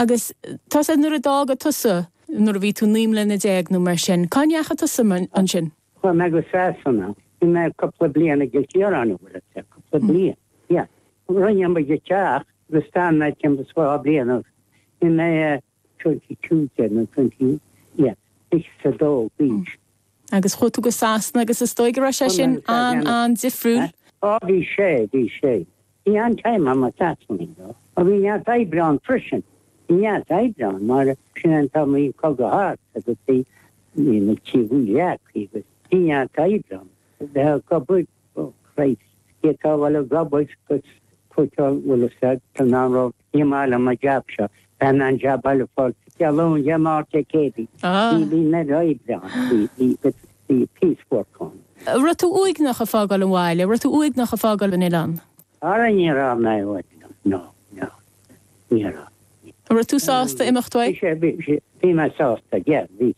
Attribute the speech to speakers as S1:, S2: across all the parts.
S1: Agus tá sé nuair a d'fhága tusa, nuair a bhí tú 19 mbliana nó mar sin, cá ndeachaigh tusa ansin?
S2: Chuaigh mé go Sasana. Bhí mé cúpla bliain i gCill Chiaráin, an bhfuil fhios agat, cúpla bliain. Yeah. Rinne muid teach agus d'fhan mé timpeall is 2 bliain agus bhí mé 22 nó 20, yeah, 22 d'aois.
S1: Agus chuaigh tú go Sasana agus is dóigh go raibh sé sin an-an-difriúil.
S2: Á bhí sé, bhí sé. Bhí an-time agam i Sasana though. Ó bhí neart oibre ann freisin. Bhí neart oibre ann mar sin an t-am a bhí an cogadh thart agus bhí bhí na tithe leagtha agus bhí neart oibre ann. Bheith ag obair, oh Christ, d'fhéadfá a bheith ag obair agus cúiteáil bhfuil fhios agat tá an raibh ní maith liom an jab seo, bheinn in ann jab eile a fháil Dé Luain, Dé Máirt, Dé Céadaoin. Bhí bhí an oiread oibre ann, bhí bhí bhí piece work ann.
S1: An raibh tú uaigneach ag fágáil an bhaile, an raibh tú uaigneach ag fágáil an oileáin?
S2: Ara ní raibh mé uaigneach, no, no, ní raibh.
S1: An raibh tú sásta imeacht uaidh?
S2: Bhí sé, bhí sé, bhí mé sásta, yeah, bhí,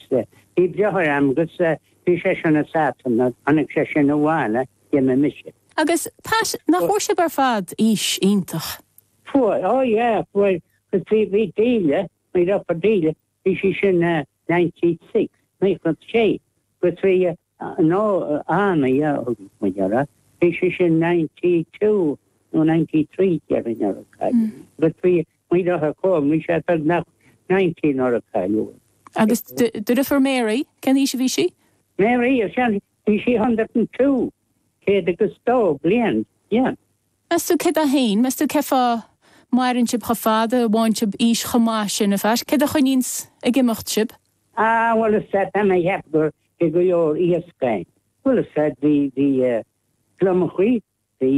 S2: bhí deartháir a'm agus bhí sé sin i Sasana, tháinig sé sin abhaile, d'imigh mise.
S1: Agus Pat, nach bhfuair sibh ar fad aois iontach?
S2: Fuair, oh yeah, fuair, 'cause bhí, bhí Delia, mo dheirfiúr Delia, bhí sí sin 96, 96, agus bhí, nó Anna, yeah, thug muid uirthi, bhí sí sin 92 nó 93 déarfainn nuair a cailleadh í. Agus bhí mo dheartháir Colm, bhí sé beagnach 90 nuair a cailleadh é.
S1: Agus do dheirfiúr Mary, cén aois a bhí sí?
S2: Mary, bhí sí 102, 102 bliain, yeah.
S1: Meas tú céard é féin? Meas tú cén fáth maireann sibh chomh fada, bhfaigheann sibh aois chomh maith sin, a Phat? Céard a choinníonns ag imeacht sibh?
S2: Ah, bhuel is ea, tá mé ag ceapadh gur bhí go leor iasc ann. Bhuel is ea, bhí, bhí gliomachaí, bhí,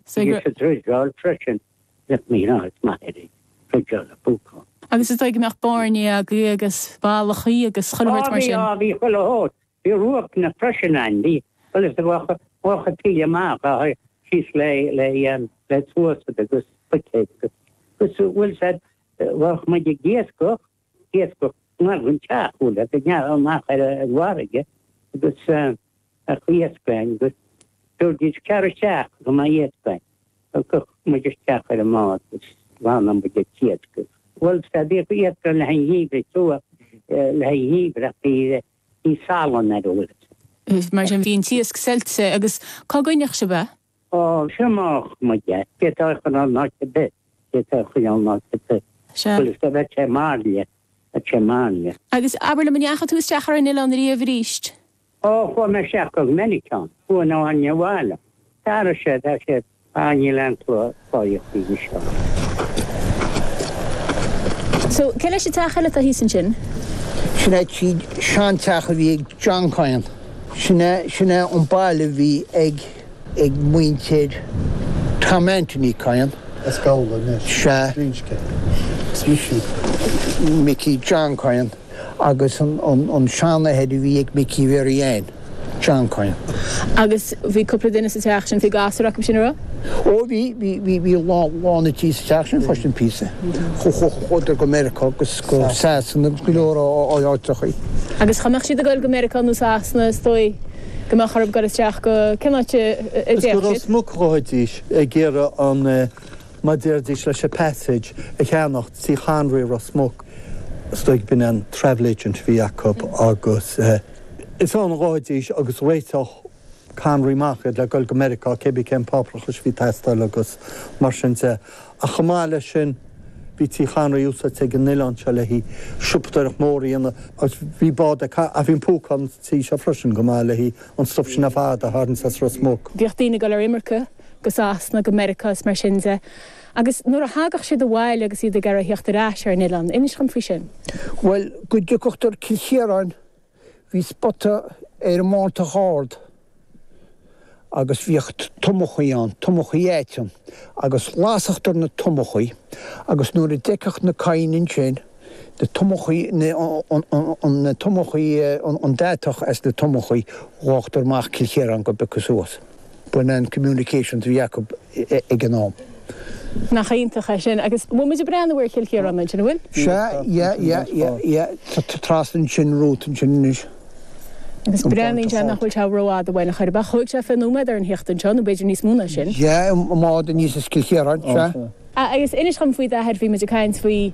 S2: bhí sa dreideáil freisin. Bheadh mé ná is maith ar an dreideáil a phúcán.
S1: Agus is dóigh go mbeadh bairnigh agaibh agus ballachaí agus chuile shórt mar
S2: sin. Á bhí, á bhí chuile shórt. Bhí ruacanna freisin ann, bhí, bhuel is ea, bheadh an taoille amach, síos le, le, le sluasaid agus buicéid agus, agus bhuel is ea, bheadh muid ag iascach, iascach ngar don teach, bhuel, agus amach ar an bhfarraige agus bheadh iasc ann agus dúirt tar isteach go mbeidh iasc ann. Thiocfadh muid isteach ar an mbád agus ghlanadh muid an t-iasc. Bhuel, is ea, bhíodh iasc ann le haghaidh an gheimhridh, too, le haghaidh an gheimhridh ach bhí, bhí salann air, bhfuil
S1: fhios. Mar sin, bhí an t-iasc saillte agus cá gcoinneodh sibh é?
S2: Ó, thriomódh muid é. D'fhéadfá é a choinneáil in áit ar bith. D'fhéadfá é a choinneáil in áit ar bith.
S1: Sea.
S2: Bhuel, is ea, bheadh sé mairle. Bheadh sé mairle.
S1: Agus abair liom, an ndeachaigh tú isteach ar an oileán ariamh aríst?
S2: Ó, chuaigh mé isteach go minic ann. Chuaigh na hainne abhaile. D'athraigh sé, tá sé, ah, níl aon cloíocht anois ann.
S1: So, cé leis an teach eile atá thíos ansin?
S3: Sin é seanteach a bhí ag John Coyne. Sin é, sin é an baile a bhí ag, ag muintir Tom Anthony Coyne.
S4: As Gabhla anois.
S3: Sea.
S4: Glinsce. Is Micí.
S3: Micí John Coyne. agus an seanathair a bhí ag Micí Mhary Ann, John Coyne.
S1: Agus bhí cúpla duine sa teach sin, bhí gasúir acu sin, an raibh?
S3: Ó bhí, bhí, bhí, bhí lán an tí sa teach sin freisin píosa. Chuadar go Meiriceá agus go Sasana agus go leor áiteachaí.
S1: Agus cha mbeadh siad ag dul go Meiriceá nó Sasana is dóigh go mbeadh orthu dul isteach go, cén áit a
S4: Is
S1: dtéadh
S4: go
S1: siad?
S4: Ros Muc a ghabhaidís ag iarraidh an. mar déarfaidís leis an passage a cheannacht Tí Chonraí Ros Muc. Is dóigh b'in an travel agent a bhí acu agus is ann a ghabhaidís agus réiteodh Conraí amach iad le dul go Meiriceá cé bith cén páipéarachas a bhí ag teastáil agus mar sin de. Ach chomh maith leis sin bhí Tí Chonraí úsáidte ag an oileán seo le haghaidh siopadóireacht mór a dhéanamh agus bhí bád ag ach bhí an púcán sa tí seo freisin go maith le haghaidh an stuif sin ar fad a tharraingt as Ros Muc.
S1: Bhíodh daoine ag dul ar imirce go Sasana, go Meiriceá is mar sin de. Agus nuair a thagadh siad abhaile agus iad ag iarraidh theacht ar ais ar an oileán, inis dhom faoi sin.
S3: Bhuel, go dtiocfadh Cill Chiaráin, bhí spota ar an mBántach Ard agus bhíodh tomachaí ann, tomachaí aiteann, agus lasachtar na tomachaí agus nuair a d'fheicfeadh na Cadhain ansin, na tomachaí, na tomachaí, an deatach as na tomachaí, ghabhadar amach Cill Chiaráin go bpiocadh suas. B'in an communications a bhí acu ag an am.
S1: Nach iontach é sin. Agus bhfuil muid ag breathnú ar Chill Chiaráin ansin, an bhfuil?
S3: Sea, yeah, yeah, yeah, yeah. Tá trasna ansin, romhat ansin anois.
S1: Agus breathnaíonn sé nach bhfuil sé rófhada uainn ar chor ar bith. Thóg sé 20 nóiméad orainn theacht anseo, nó b'fhéidir níos mó ná sin.
S3: Yeah, i mbád aníos as Cill Chiaráin, sea.
S1: Agus inis dhom faoi d'athair, bhí muid ag caint faoi.